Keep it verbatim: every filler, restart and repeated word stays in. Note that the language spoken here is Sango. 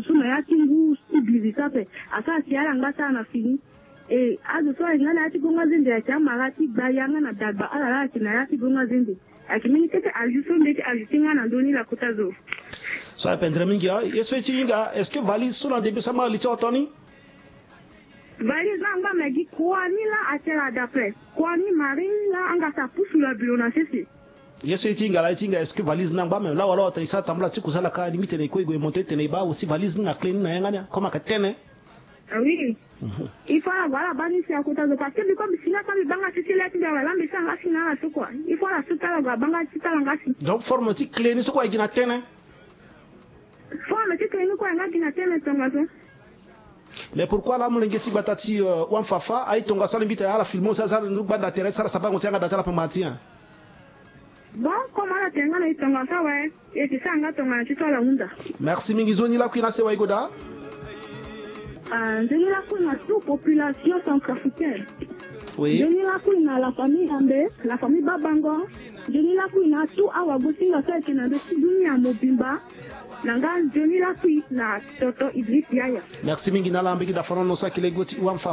So na ya ti ngu ti bizi so ape, asara si ala ngba ti ala na fini. E azo so ayeke nga na ya ti gongo azende ayeke amara ti gba yanga na dagba ala laa ayeke na ya ti gongo azende. Ayeke mbeni kete ajoute so mbi ye ti ajoute nga na ndö ni lakota zo. So aye pendere mingi. Ye so ye ti hinga, est-ce que valise so na début so ama li ti oto ni? Valise na angba me gi kua ni laa ate la d'après kua ni mari laa anga sa pusu la bilo na sese. Ye so ye ti hinga laa ye ti hinga, est-ce que valise na angba me laa wala ota e sara tambula ti kusala ka ni mbi tene e kue e gue e monte tene e baa aussi valise ni na clé ni na yanga ni comme ayeke tene. Ah oui. Il faut ala gue ala baa ni si akota zo parce que mbi kue mbi si nga kue mbi baa nga ti ti le ti mbi awe laa mbi sara nga si na ala so kua. Il faut ala so ti ala gue abaa nga ti ti ala nga si. Donc forme ti clé ni so kue aye gi na tene. Forme ti clé ni kue aye nga gi na tene tongaso. Mais pourquoi la molenge ti gbata ti wamfafa aye tongaso ala mbi tene ala filme aussi aza gbanda tere ti sara sabango ti yanga da ti ala pamba ti en? Bon, comme ala tene nga na e tongaso awe. Eti sanga tongana ti so ala hunda. Merci mingi. Nzoni lakui na sewa e goda. Ah, nzoni lakui na tout population centrafricaine. Oui. Nzoni lakui na la famille Yambe, la famille Babango. Nzoni lakui na tout awagosinga so ayeke na ndo ti dunia mobimba. Na nga nzoni lakui na toto Idriss Yaya. Merci mingi na ala mbeki da fanono so akele go ti wamfa.